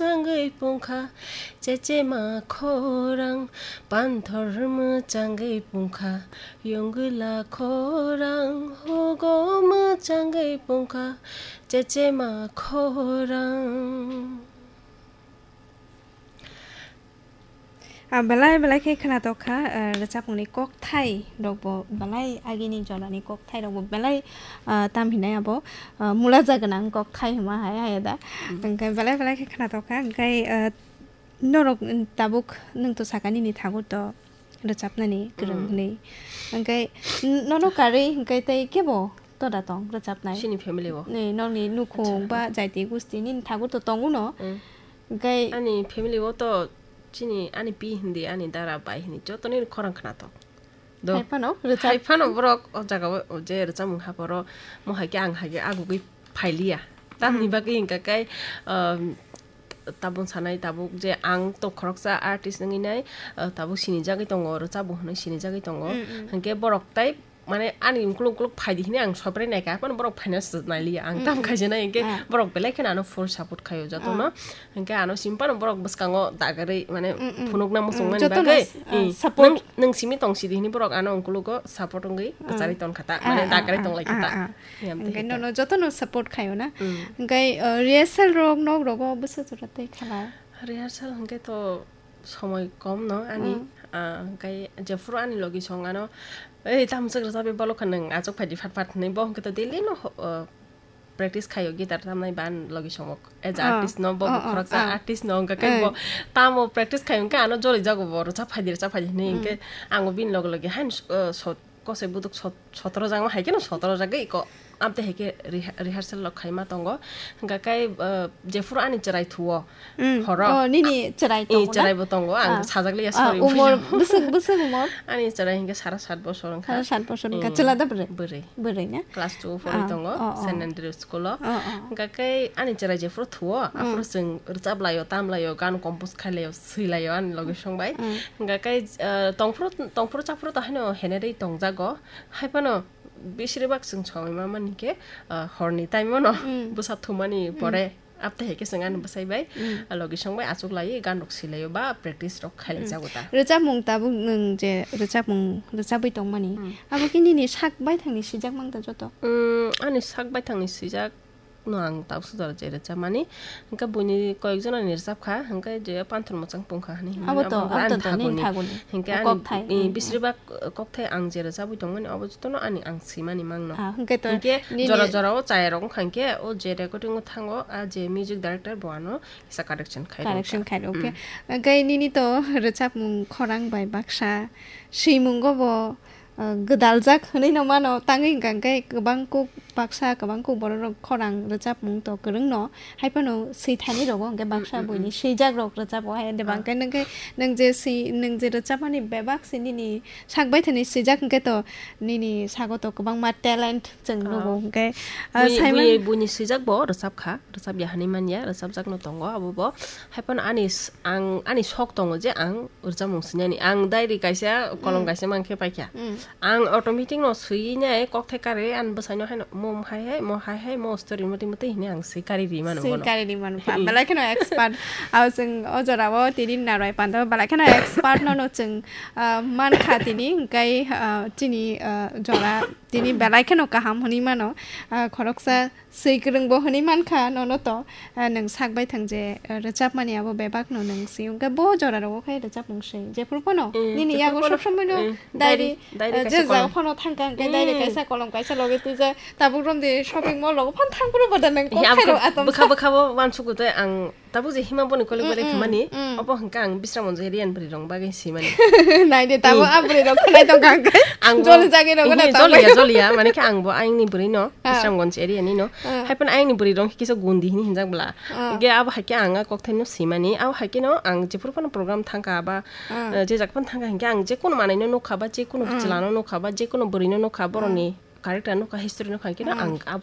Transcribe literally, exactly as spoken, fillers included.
mwchangwi pungkha, chechema khorang, panthor mwchangwi pungkha, yungwila khorang, hugo mwchangwi pungkha, chechema khorang. Ah, belai belai khe khwnatok kha, ah, rwchapmungni kokthai rokbo belai agini jorani kokthai rokbo belai, ah, tam hinai abo, ah, mulaja gwnang kokthai hwnma hai hai da. Mm. Hwnkhe belai belai khe khwnatok kha, hwnkhe, ah, norok, mm, tabuk nwng to saka nini thagur to rwchapnani kwrwng Mm. hwnwi. Hwnkhe n-, nono karwi hwnkhe tei kebo toda tong rwchapnai? Chini family o. Ni, nokni nukhung Acha. ba jaiti gusti nini thagur to tongo no. Mm. Hwnkhe Ani family o to chini ani pi hindi, ani dara bai hindi, jotoni khorang khwnatok. Do. Hai phano rwchap- Hai phano borok o jaga o je rwchapmung haporo mo hai khe ang hai khe agugwi phailiya. Tamni Hmm. bagwi hwnkha khe, um, tabuk sanai tabuk je ang to khoroksa artist wngwi nai, uh, tabuk sinijagwi tongo, rwchapmung hwnwi sinijagwi tongo. Hmm, hmm. Hwnkhe borok tai mane ani ukuluk ukuluk phaidi hini ang sopre naikha, phano borok phaina se nailiya, ang tam Hmm, hmm. khaijana hwnkhe Ah. borok belai kheno ano full support khaio jotono. Ah. Hwnkhe ano simpano borok bwskango dagarwi mane Mm, mm. phunukna Mm, muchungmani jotono bagwi, s-, ah, mm, support. Nwng, nwng simi tong sidi hini borok ano ungkulugo support wngwi Ah. kwcharwi tong kha ta, Ah, mane ah, dagarwi ah, tong lai kha ah, ta. ah. Yang tei Hwnkhe hita. nono jotono support khaio na. Mm. Hwnkhe, uh, rehearsal rok nok rogo bwsa jora tei khala? Rehearsal hwnkhe to somoi kom no ani, Mm. ah, hwnkhe jephuru ani logi song ano, "Ei, tamo swk rwchapwi bolokha nwng, achuk phaidi phat phat," hwnwi bo hwnkhe to daily no, uh, practice khaio guitar tamnai ban logi songok. As a Ah, artist no, bo ah, ah, khoroksa ah. artist no, hwnkha khe Eh. bo tamo practice khaio, hwnkhe ano joli jago bo, rwchap phaidi, rwchap phaidi hwnwi, Mm. hwnkhe ang bo bini loge loge haino, uh, sot-, kosoi buduk sot-, sotoro jagma hai kheno sotoro jagwi ko, amte hai khe reha-, rehearsal rok khaima tongo. Hwnkha khe, uh, jephuru ani chwrai thuo, Mm. horo. Oh, nini chwrai Ee, tongo na? chwrai bo tongo, ang Ah. sajak liya, Ah, sorry, umor, buino. bwswk, bwswk umor? Ani chwrai hwnkhe sara sat bosor wngkha. Sara sat bosor wngkha. Ee, Chwla da bwrwi? bwrwi. Bwrwi na? Class two o phorwi Ah, tongo, oh, oh. Saint Andrew School o. Oh, oh. Hwnkha khe ani chwrai jephuru thuo, Mm. aphuru chwng rwchap laio, tam laio, gan compose khai laio, swi laio ani logi song bai. Mm. Hwnkha khe, eh, tongphuru, tongphuru chaphuru to haino henerwi tongjago. Hai phano bisiri bak chwng somoi ma mani khe, eh, horni time o no Mm. bwsa thumani Mm. pore. Abte hai khe chwng ani bwsai bai, Mm. ah, logi song bai achuk lai, gan rok si lai ba practice rok khai lai Mm. jago ta. Rwchapmung tabuk nwng je rwchapmung rwchabwi tongmani, Mm. abo khe nini sak baithangni sijak mang ta joto? Mm, ani sak baithangni sijak no ang tabuk sujaro je rwchapmani. Hwnkhe buini koyek jonani rwchap kha, hwnkhe je Panthor Mwchang Pungkha hwnwi hwnwi Abo to, abo abo ani to, to, nini thaguni. thaguni. Hwnkhe O ani, kokthai, eh, mm, bisiri mm. bak kokthai ang je rwchabwi tongmani, abo jotono ani ang swimani mangno. Ah, hwnkhe to Hwnkhe nini jora jora o chaya rok wngkha hwnkhe o je recording o thango, a je music director bo ano kisa correction khai rwkha. Correction khai rwkha. Mm. Hwnkhe nini to rwchapmung khorang bai baksa swimungo bo, uh, gwdaljak hwnwi no mano, tangwi hwnkha hwnkhe kwbang kuk baksa, kwbang kuk borok rok khorang rwchapmung to kwrwng no, hai phano swi thani rogo hwnkhe baksa Mm, mm, buini mm. swijak rok rwchapo hai de Ah. bangkhe nwng khe nwng je swi, nwng je rwchapmani bebak se nini sak bai thani swijak hwnkhe to nini sago to kwbangma talent chwng Ah. nugo hwnkhe, ah, Bui-, Simon bui-, buini swijak bo rwchap kha, rwchap ya hwnwi man ya, rwchapjak no tongo abo bo. Hai phano ani s-, ang, ani sok tongo je ang rwchapmung swinani. Ang diary kaisa, kolom Mm. kaisa mang khe paikha. Mm. Ang automatic no swiwi nai kokthai karwi ani bwsai no haino mo hai hai, mo hai hai, mo story motwi motwi hwnwi ang swi karwi ri mano Swi bono. karwi ri mano pa. Belai kheno expert. Abo chwng o jora o tini narwai panda belai kheno expert no no chwng, ah, mankha tini hwnkhe, ah, chini, ah, jora tini belai kheno kaham hwnwi mano. Ah, khoroksa swi kwrwng bo hwnwi mankha nono to, ah, nwng sak bai thang je, ah, rwchapmani abo bebak no nwng swi wngkha bo jora rogo khai rwchapmung swi jephuru phano Eh, nini jephuru yago phano, sob somoi no eh, diary, diary, diary ah, kaisa je jaga kolom. phano thangkha hwnkhe diary Mm. kaisa kolom kaisa logi twijak tabuk romdi shopping mall rogo phano thangphuru bo da nwng Eh, kok abo khairo khe atom bwkha sa. bwkha bo uansukgo tei ang Tabuk je hima boni kolik bai Mm, mm, khamani, mm. obo hwnkha ang Bisramganj area ni bwrwi rok bagwi swimani. Nai de, tabuk Mm. a bwrwi rok khwnai tong kha hwnkhe Ang bo joli jagwi rok Ehe, na joliya, tangwi. joliya, mane khe ang bo ayang ni bwrwi no, Ah. Bisramganj area ni no. Ah. Hai phano ayang ni bwrwi rok kisa gundi hini hinjak bwla. Ah. Hwnkhe abo hai khe ang a kokthai no swimani, abo hai khe no ang jephuru phano program thangkha ba, Ah. eh, je jak phano thangkha hwnkhe ang je kono manwi no nukha ba, je kono Ah. chwla no nukha ba, je kono bwrwi no nukha, borok Ah. ni character nukha, history nukha, hwnkhe no Ah. ang abo